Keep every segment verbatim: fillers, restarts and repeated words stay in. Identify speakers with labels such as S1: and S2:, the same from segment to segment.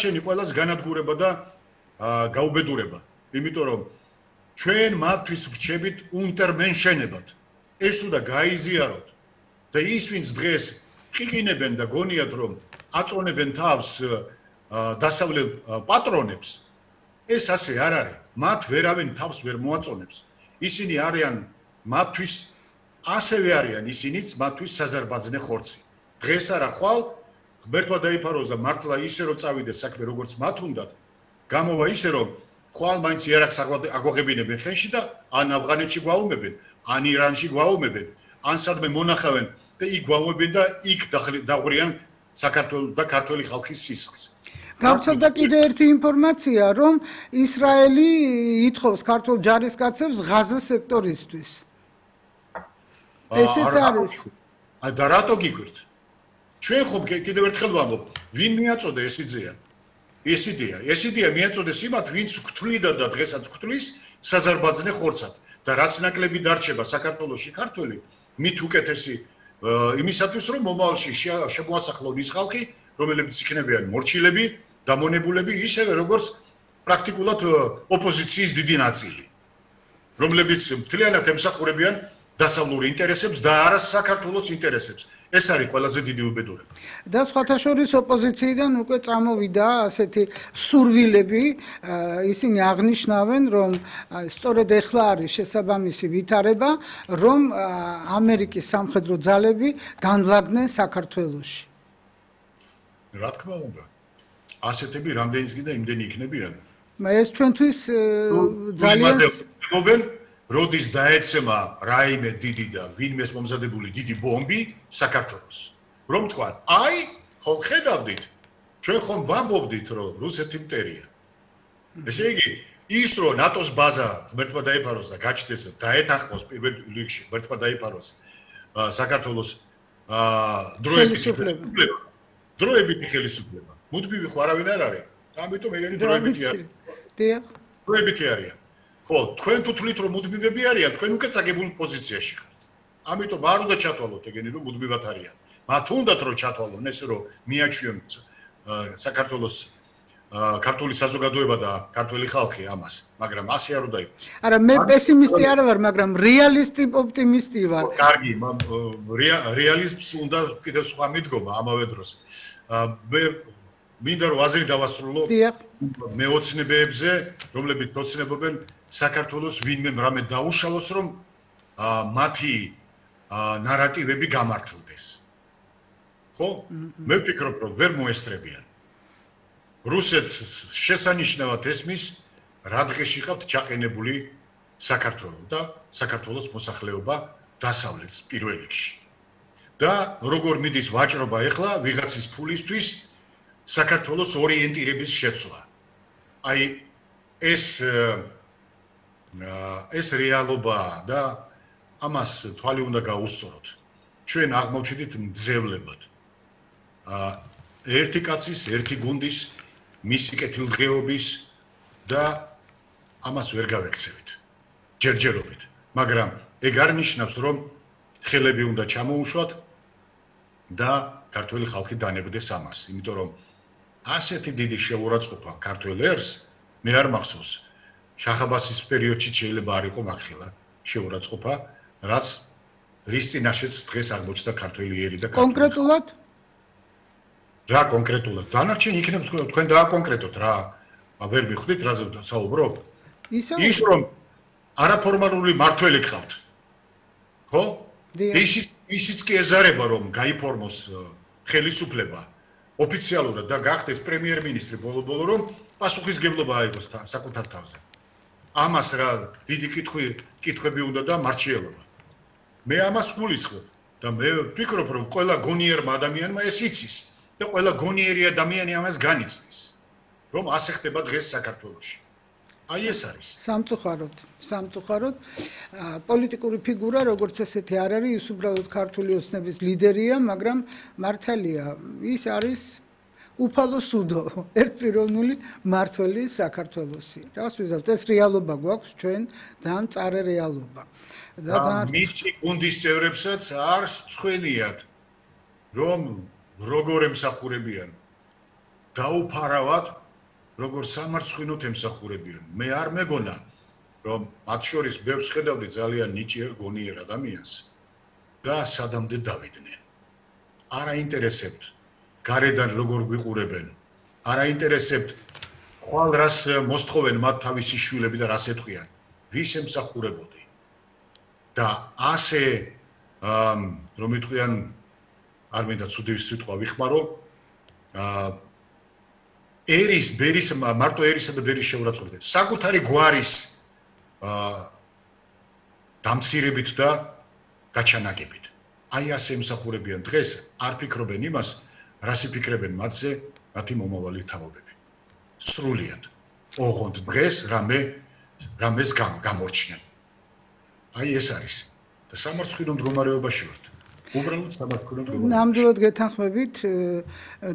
S1: დანარჩენი ყველას განადგურება და გაუბედურება. იმიტომ რომ ჩვენ მათთვის ვრჩებით უნტერმენშენებად. ეს უნდა გაიზიაროთ. და ის ვინც დღეს ყიყინებენ და გონიათ რომ აწონებენ თავს დასავლელ პატრონებს, ეს ასე არ არის. მათ ვერავინ თავს ვერ მოაწონებს. ისინი არიან მათთვის ასევე არიან ისინიც მათთვის საზარბაზნე ხორცი. დღეს არა ხვალ ღმერთმა დაიფაროს და მართლა ისე რომ წავიდეს საქმე როგორც მათ უნდათ, გამოვა ისე რომ ხვალ მაინც იარაღს აგვაღებინებენ ხელში და ან ავღანეთში გვაუმებენ, ან ირანში გვაუმებენ, ან სადმე მონახავენ და იქ გვაუმებენ და იქ დაღვრიან საქართველოს და ქართული ხალხის სისხლს.
S2: გავრცელდა კიდე ერთი ინფორმაცია, რომ ისრაელი ითხოვს ქართულ ჯარისკაცებს ღაზა სექტორისთვის. ესეც არის.
S1: და რატო გიგვირთ? ჩვენ ხომ კიდევ ერთხელ ვამბობ, ვინ მიაწოდა ეს იდეა? ეს იდეა, ეს იდეა მიაწოდეს იმათ, ვინც გვთვლიდა და დღესაც გვთვლის საზარბაზნე ხორცად და რაც ნაკლები დარჩება საქართველოში ქართველი, მით უკეთესი იმისათვის, რომ მომავალში შემოასახლონ ის ხალხი, რომლებიც იქნებიან მორჩილები, დამონებულები, ისევე როგორც პრაქტიკულად ოპოზიციის დიდი ნაწილი, რომლებიც მთლიანად ემსახურებიან დასავლურ ინტერესებს და არა საქართველოს ინტერესებს. ეს არის ყველაზე დიდი უბედურება.
S2: და სხვათა შორის ოპოზიციიდან უკვე წამოვიდა ასეთი სურვილები, ისინი აღნიშნავენ, რომ სწორედ ეხლა არის შესაბამისი ვითარება, რომ ამერიკის სამხედრო ძალები განლაგდნენ საქართველოში.
S1: რა თქმა უნდა. ასეთები რამდენიც კიდე იმდენი იქნებიან.
S2: ეს ჩვენთვის ძალიან
S1: როდის დაეცემა რაიმე დიდი და ვინმეს მომზადებული დიდი ბომბი საქართველოს. რომ თქვა, აი, ხომ ხედავდით, ჩვენ ხომ ვამბობდით, რომ რუსეთი მტერია. ესე იგი, ის რომ ნატოს ბაზა ღმერთმა დაიფაროს და გაჩნდეს და დაეთანხმოს პირველ რიგში ღმერთმა დაიფაროს საქართველოს დროებითი ხელისუფლება. დროებითი ხელისუფლება. მუდმივი ხო არავინ არ არის. ამიტომ ეგენი დროებითი არის.
S2: დიახ.
S1: დროებითი არიან. ხო, თქვენ თუ თვლით რომ მუდმივები არიან, თქვენ უკვე წაგებულ პოზიციაში ხართ. ამიტომ არ უნდა ჩათვალოთ ეგენი რომ მუდმივად არიან. მათ უნდათ რომ ჩათვალონ ეს რომ მიაჩვიონ საქართველოს ქართული საზოგადოება და ქართული ხალხი ამას, მაგრამ ასე არ უნდა იყოს.
S2: არა, მე პესიმისტი არ ვარ, მაგრამ რეალისტი ოპტიმისტი ვარ.
S1: კარგი, რეალიზმს უნდა კიდევ სხვა მიდგომა ამავე დროს. მე მინდა რომ აზრი დავასრულო მეოცნებებზე, რომლებიც ოცნებობენ საქართველოს ვინმე რამე დაუშალოს, რომ მათი ნარატივები გამართლდეს. ხო? მე ვფიქრობ, რომ ვერ მოესწრებიან. რუსეთს შესანიშნავად ესმის, რა დღეში ხავთ ჩაყენებული საქართველო და საქართველოს მოსახლეობა დასავლეთს პირველ რიგში. და როგორ მიდის ვაჭრობა ახლა ვიღაცის ფულისთვის საქართველოს ორიენტირების შეცვლა. აი ეს ეს რეალობაა და ამას თვალი უნდა გაუსწოროთ. ჩვენ აღმოჩნდით მძევლებად. ერთი კაცის, ერთი გუნდის, მისი კეთილდღეობის და ამას ვერ გავექცევით. ჯერჯერობით, მაგრამ ეგ არ ნიშნავს, რომ ხელები უნდა ჩამოუშვათ და ქართული ხალხი დანებდეს ამას, იმიტომ რომ ასეთი დიდი შეურაცხყოფა ქართულ ერს მე არ მახსოვს. შახაბასის პერიოდში შეიძლება არ იყო მაგხელა შეურაცხყოფა, რაც რის წინაშეც დღეს აღმოჩნდა ქართული ერი და
S2: კონკრეტულად
S1: რა კონკრეტულად დანარჩენი იქნება თქვენ დააკონკრეტოთ რა ვერ მიხვდით რაზე საუბრობ? ის რომ არაფორმალური მართველი გყავთ. ხო? ისიც ისიც კი ეზარება რომ გაიფორმოს ხელისუფლება ოფიციალურად და გახდეს პრემიერ-მინისტრი ბოლო-ბოლო რომ პასუხისგებლობა აიღოს საკუთარ თავზე. ამას რა დიდი კითხვი კითხვები უნდა და მარჩიელობა. მე ამას გულისხმობ და მე ვფიქრობ რომ ყველა გონიერმა ადამიანმა ეს იცის და ყველა გონიერი ადამიანი ამას განიცდის რომ ასე ხდება დღეს საქართველოში. აი ეს არის.
S2: სამწუხაროდ, სამწუხაროდ პოლიტიკური ფიგურა როგორც ესეთი არ არის, ის უბრალოდ ქართული ოცნების ლიდერია, მაგრამ მართალია, ის არის უფალო სუდო, ერთპიროვნული მართველი საქართველოსი. რას ვიზავთ, ეს რეალობა გვაქვს ჩვენ, ძალიან მწარე რეალობა.
S1: და მისი გუნდის წევრებსაც არ სწვენიათ, რომ როგორ ემსახურებიან დაუფარავად როგორც სამარცხვინოდ ემსახურებიან. მე არ მეგონა რომ მათ შორის ბევრს ხედავდი ძალიან ნიჭიერ გონიერ ადამიანს და სადამდე დავიდნენ. არ აინტერესებთ გარედან როგორ გვიყურებენ. არ აინტერესებთ ხვალ რას მოსთხოვენ მათ თავისი შვილები და რას ეთქვიან. ვის ემსახურებოდი. და ასე რომ იტყვიან არ მინდა ცუდი სიტყვა ვიხმარო აა ერის ბერის მარტო ერისა და ბერის შეურაცხყოფით საკუთარი გვარის აა დამცირებით და გაჩანაგებით აი ასე ემსახურებიან დღეს არ ფიქრობენ იმას რას იფიქრებენ მათზე მათი მომავალი თაობები სრულიად ოღონდ დღეს რამე რამეს გამორჩნენ აი ეს არის და სამარცხვინო მდგომარეობაში ვართ უბრალოდ სამარცხვინო მდგომარეობაში
S2: ნამდვილად გეთანხმებით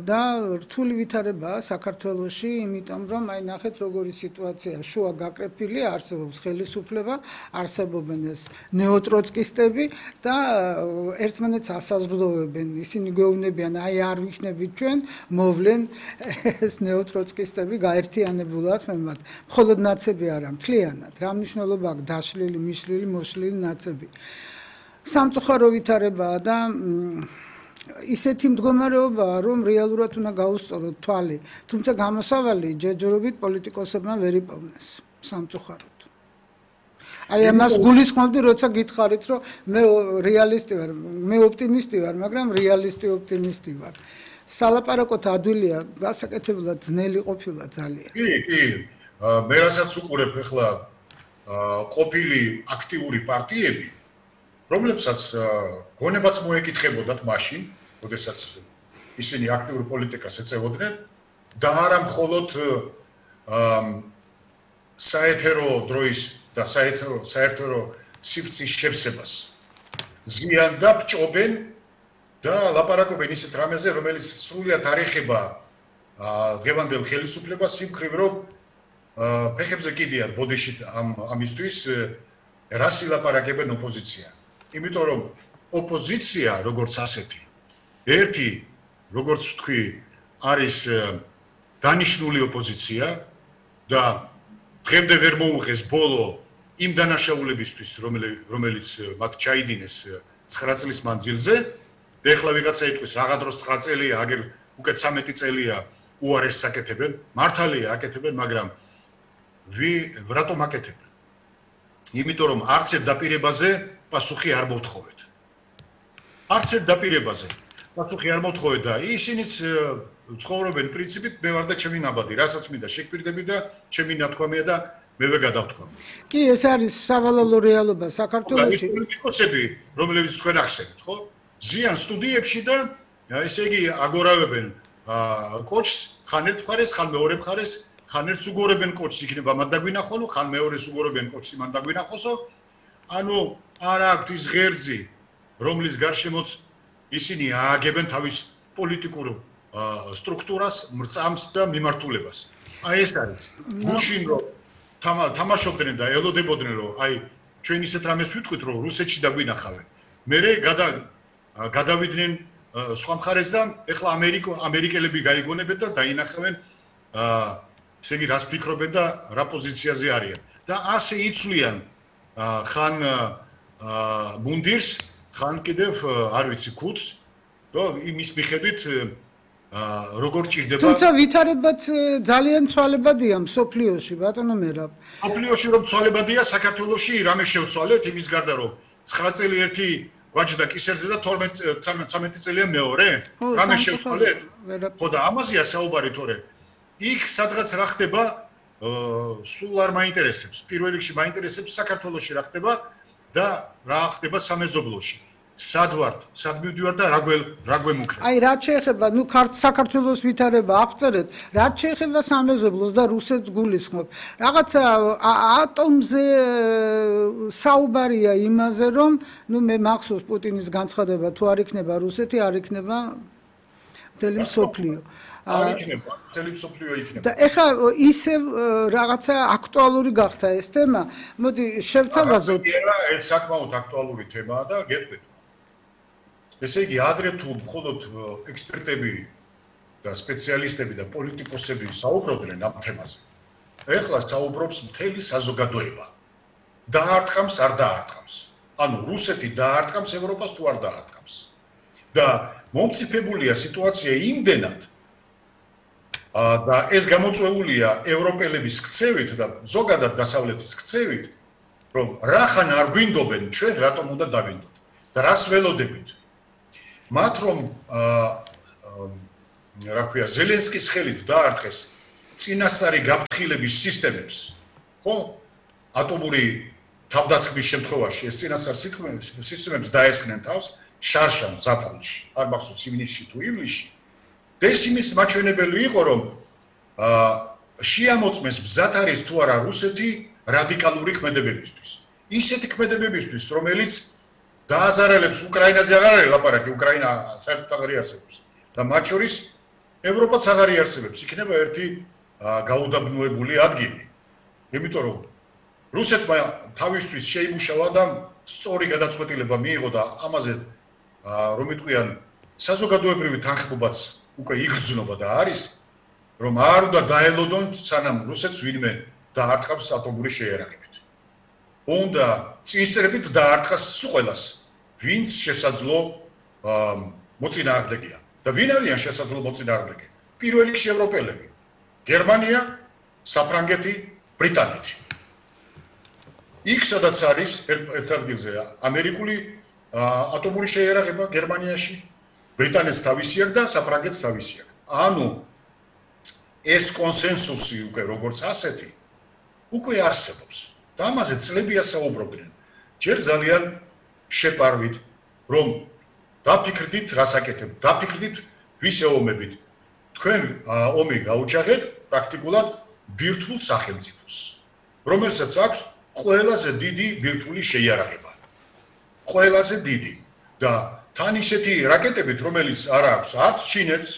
S2: და რთული ვითარებაა საქართველოში იმიტომ რომ აი ნახეთ როგორი სიტუაცია შუა გაკრეფილი არსებობს ხელისუფლება არსებობენ ეს ნეოტროცკისტები და ერთმანეთს ასაზრდოვებენ ისინი გვეუბნებიან აი არ ვიქნებით ჩვენ მოვლენ ეს ნეოტროცკისტები გაერთიანებულად მე მათ მხოლოდ ნაცები არა მთლიანად რა მნიშვნელობა აქვს დაშლილი მიშლილი მოშლილი ნაცები სამწუხარო ვითარებაა და ისეთი მდგომარეობაა რომ რეალურად უნდა გაუსწოროთ თვალი თუმცა გამოსავალი ჯერჯერობით პოლიტიკოსებმა ვერ იპოვნეს სამწუხაროდ აი ამას გულისხმობდი როცა გითხარით რომ მე რეალისტი ვარ მე ოპტიმისტი ვარ მაგრამ რეალისტი ოპტიმისტი ვარ სალაპარაკოთ ადვილია გასაკეთებლად ძნელი ყოფილა ძალიან
S1: კი კი მე რასაც უყურებ ახლა ყოფილი აქტიური პარტიები რომლებსაც გონებაც მოეკითხებოდათ მაშინ, როდესაც ისინი აქტიურ პოლიტიკას ეწევოდნენ და არა მხოლოდ საეთერო დროის და საეთერო საერთო სივრცის შევსებას ზიან და ბჭობენ და ლაპარაკობენ ისეთ რამეზე, რომელიც სრულიად არ ეხება დღევანდელ ხელისუფლებას იმ მხრივ, რომ ფეხებზე კიდიათ ბოდიში ამ ამისთვის რას ილაპარაკებენ ოპოზიცია. იმიტომ რომ ოპოზიცია როგორც ასეთი ერთი როგორც ვთქვი არის დანიშნული ოპოზიცია და დღემდე ვერ მოუღეს ბოლო იმ დანაშაულებისთვის რომელიც მათ ჩაიდინეს ცხრა წლის მანძილზე და ეხლა ვიღაცა იტყვის რაღა დროს ცხრა წელია აგერ უკეთ ცამეტი წელია უარესს აკეთებენ მართალია აკეთებენ მაგრამ ვი რატომ აკეთებენ იმიტომ რომ არც ერთ დაპირებაზე პასუხი არ მოვთხოვეთ. არც ერთ დაპირებაზე პასუხი არ მოვთხოვეთ და ისინიც ცხოვრობენ პრინციპით მე ვარ და ჩემი ნაბადი, რასაც მინდა შეგვირდები და ჩემი ნათქვამია და მევე გადავთქვამი.
S2: კი, ეს არის სავალალო რეალობა საქართველოში.
S1: პოლიტიკოსები, რომლებიც თქვენ ახსენეთ, ხო? ზიან სტუდიებში და ესე იგი აგორავებენ კოჩს, ხან ერთ მხარეს, ხან მეორე მხარეს, ხან ერთს უგორებენ კოჩს, იქნება მან დაგვინახონო, ხან მეორეს უგორებენ კოჩს, მან დაგვინახოსო. ანუ არ აქვთ ის ღერძი, რომლის გარშემოც ისინი ააგებენ თავის პოლიტიკურ სტრუქტურას, მრწამს და მიმართულებას. აი ეს არის. გუშინ რომ თამაშობდნენ და ელოდებოდნენ რომ აი ჩვენ ისეთ რამეს ვიტყვით რომ რუსეთში დაგვინახავენ. მერე გადავიდნენ სხვა მხარეს და ეხლა ამერიკო ამერიკელები გაიგონებენ და დაინახავენ ესე იგი რას ფიქრობენ და რა პოზიციაზე არიან. და ასე იცვლიან ხან მუნდირს, ხან კიდევ არ ვიცი ქუდს და იმის მიხედვით როგორ ჭირდება
S2: თუმცა ვითარებაც ძალიან ცვალებადია მსოფლიოში ბატონო მერაბ
S1: მსოფლიოში რომ ცვალებადია საქართველოში რამე შევცვალეთ იმის გარდა რომ ცხრა წელი ერთი გვაჯდა კისერზე და თორმეტ წელია მეორე რამე შევცვალეთ ხო და ამაზეა საუბარი თორე იქ სადღაც რა ხდება სულ არ მაინტერესებს პირველ რიგში მაინტერესებს საქართველოში რა ხდება და რა ხდება სამეზობლოში სად ვართ, სად მივდივარ და რა გველ რა გვემუქრება.
S2: აი რაც შეეხება, ნუ საქართველოს ვითარება აღწერეთ, რაც შეეხება სამეზობლოს და რუსეთს გულისხმობ. რაღაცა ატომზე საუბარია იმაზე, რომ ნუ მე მახსოვს პუტინის განცხადება, თუ არ იქნება რუსეთი, არ იქნება მთელი მსოფლიო.
S1: არ იქნება, მთელი მსოფლიო იქნება.
S2: და ეხლა ისე რაღაცა აქტუალური გახდა ეს თემა. მოდი შევთავაზოთ.
S1: ეს საკმაოდ აქტუალური თემაა და გეტყვით. ესე იგი, ადრე თუ მხოლოდ ექსპერტები და სპეციალისტები და პოლიტიკოსები საუბრობდნენ ამ თემაზე. ეხლა საუბრობს მთელი საზოგადოება. დაარტყამს, არ დაარტყამს. ანუ რუსეთი დაარტყამს ევროპას თუ არ დაარტყამს. და მომწიფებულია სიტუაცია იმდენად და ეს გამოწვეულია ევროპელების ქცევით და ზოგადად დასავლეთის ქცევით, რომ რახან არ გვინდობენ ჩვენ რატომ უნდა დავინდოთ და რას ველოდებით. მათ რომ რა ქვია ზელენსკის ხელით დაარტყეს წინასწარი გაფრთხილების სისტემებს, ხო? ატომური თავდასხმის შემთხვევაში ეს წინასწარ სისტემებს დაესხნენ თავს შარშან ზაფხულში, არ მახსოვს ივნისში თუ ივლისში. და ეს იმის მაჩვენებელი იყო, რომ შეამოწმეს მზად არის თუ არა რუსეთი რადიკალური ქმედებებისთვის. ისეთი ქმედებებისთვის, რომელიც დააზარალებს უკრაინაზე აღარ არის ლაპარაკი, უკრაინა საერთოდ აღარ იარსებობს. და მათ შორის ევროპაც აღარ იარსებებს, იქნება ერთი გაუდაბნოებული ადგილი. იმიტომ რომ რუსეთმა თავისთვის შეიმუშავა და სწორი გადაწყვეტილება მიიღო და ამაზე რომ იტყვიან საზოგადოებრივი თანხმობაც უკვე იგრძნობა და არის, რომ არ უნდა დაელოდონ სანამ რუსეთს ვინმე დაარტყავს ატომური შეიარაღებით. უნდა წინსწრებით დაარტყას სულ ყველას, ვინც შესაძლო მოწინააღმდეგეა. და ვინ არიან შესაძლო მოწინააღმდეგე? პირველ რიგში ევროპელები. გერმანია, საფრანგეთი, ბრიტანეთი. იქ სადაც არის ერთ ადგილზე ამერიკული ატომური შეიარაღება გერმანიაში, ბრიტანეთს თავისი აქვს და საფრანგეთს თავისი აქვს. ანუ ეს კონსენსუსი უკვე როგორც ასეთი უკვე არსებობს. და ამაზე წლებია საუბრობდნენ. ჯერ ძალიან შეპარვით, რომ დაფიქრდით, რას აკეთებთ, დაფიქრდით, ვის ეომებით. თქვენ ომი გაუჩაღეთ პრაქტიკულად ბირთვულ სახელმწიფოს, რომელსაც აქვს ყველაზე დიდი ბირთვული შეიარაღება. ყველაზე დიდი და თან ისეთი რაკეტებით, რომელიც არ აქვს არც ჩინეთს,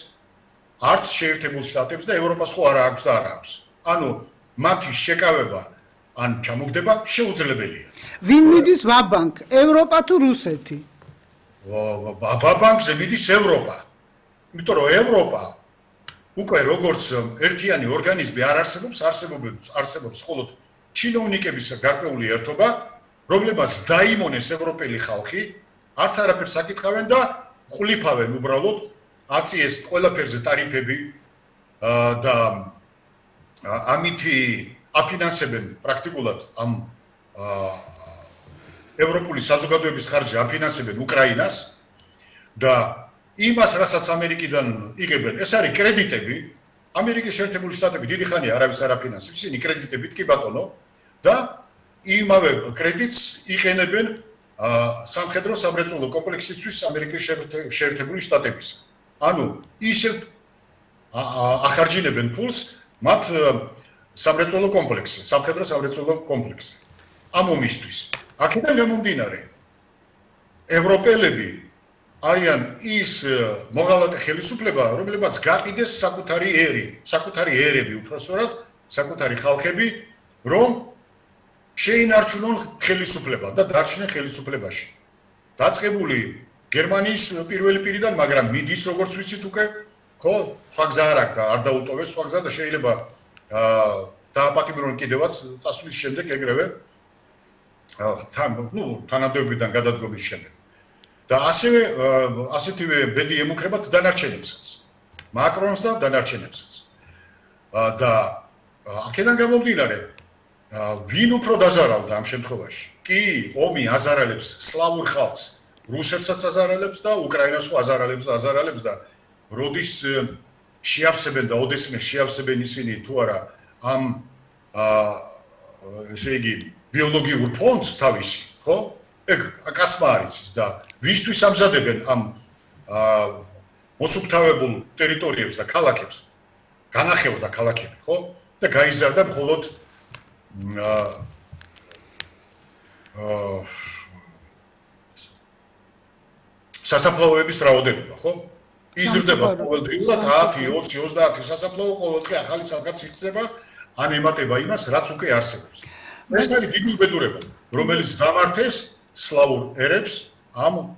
S1: არც შეერთებულ შტატებს და ევროპას ხო არ აქვს და არ აქვს. ანუ მათი შეკავება ან ჩამოგდება შეუძლებელია.
S2: ვინ მიდის ვაბანკ, ევროპა თუ რუსეთი?
S1: ვაბანკზე მიდის ევროპა. იმიტომ რომ ევროპა უკვე როგორც ერთიანი ორგანიზმი არ არსებობს, არსებობს არსებობს მხოლოდ ჩინოვნიკების გარკვეული ერთობა, რომლებსაც დაიმონეს ევროპელი ხალხი, არც არაფერს აკითხავენ და ხვლიფავენ უბრალოდ, აწიეს ყველაფერზე ტარიფები და ამითი აფინანსებენ პრაქტიკულად ამ ევროპული საზოგადოების ხარჯზე აფინანსებენ უკრაინას და იმას, რასაც ამერიკიდან იღებენ, ეს არის კრედიტები. ამერიკის შეერთებული შტატები დიდი ხანია არავის არ აფინანსებს, ისინი კრედიტებით კი ბატონო და იმავე კრედიტს იყენებენ სამხედრო სამრეწველო კომპლექსისთვის ამერიკის შეერთებული შტატებისა. ანუ ისევ ახარჯინებენ ფულს მათ სამრეწველო კომპლექსზე, სამხედრო სამრეწველო კომპლექსზე. ამ ომისთვის. აქედან გამომდინარე, ევროპელები არიან ის მოღალატე ხელისუფლება, რომლებსაც გაყიდეს საკუთარი ერი, საკუთარი ერები, უпроსორად, საკუთარი ხალხები, რომ შეინარჩუნონ ხელისუფლება და დარჩნენ ხელისუფლებაში. დაწყებული გერმანიის პირველი პირიდან, მაგრამ მიდის როგორც ვიცით უკვე, ხო, სხვა გზა არ აქვს და არ დაუტოვეს სხვა გზა და შეიძლება დააპატიმრონ კიდევაც წასვლის შემდეგ ეგრევე თან, ნუ, თანამდებობიდან გადადგომის შემდეგ. და ასევე ასეთივე ბედი ემუქრებათ დანარჩენებსაც, მაკრონს და დანარჩენებსაც. და აქედან გამომდინარე, ვინ უფრო დაზარალდა ამ შემთხვევაში? კი, ომი აზარალებს სლავურ ხალხს, რუსეთსაც აზარალებს და უკრაინას ხო აზარალებს და აზარალებს და როდის შეავსებენ და ოდესმე შეავსებენ ისინი თუ არა ამ ესე იგი ბიოლოგიურ ფონდს თავისი, ხო? ეგ კაცმა არის და ვისთვის ამზადებენ ამ მოსუფთავებულ ტერიტორიებს და ქალაქებს, განახევრდა ქალაქები, ხო? და გაიზარდა მხოლოდ სასაფლაოების რაოდენობა, ხო? იზრდება ყოველდღიურად ათი, ოცი, ოცდაათი სასაფლაო ყოველდღე ახალი რაღაც იხსნება, ან ემატება იმას, რაც უკვე არსებობს. ეს არის დიდი უბედურება, რომელიც დამართეს სლავურ ერებს ამ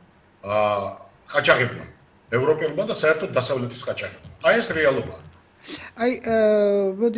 S1: ყაჩაღებმა. ევროპელმა და საერთოდ დასავლეთის ყაჩაღებმა. აი ეს რეალობაა.
S2: აი მოდი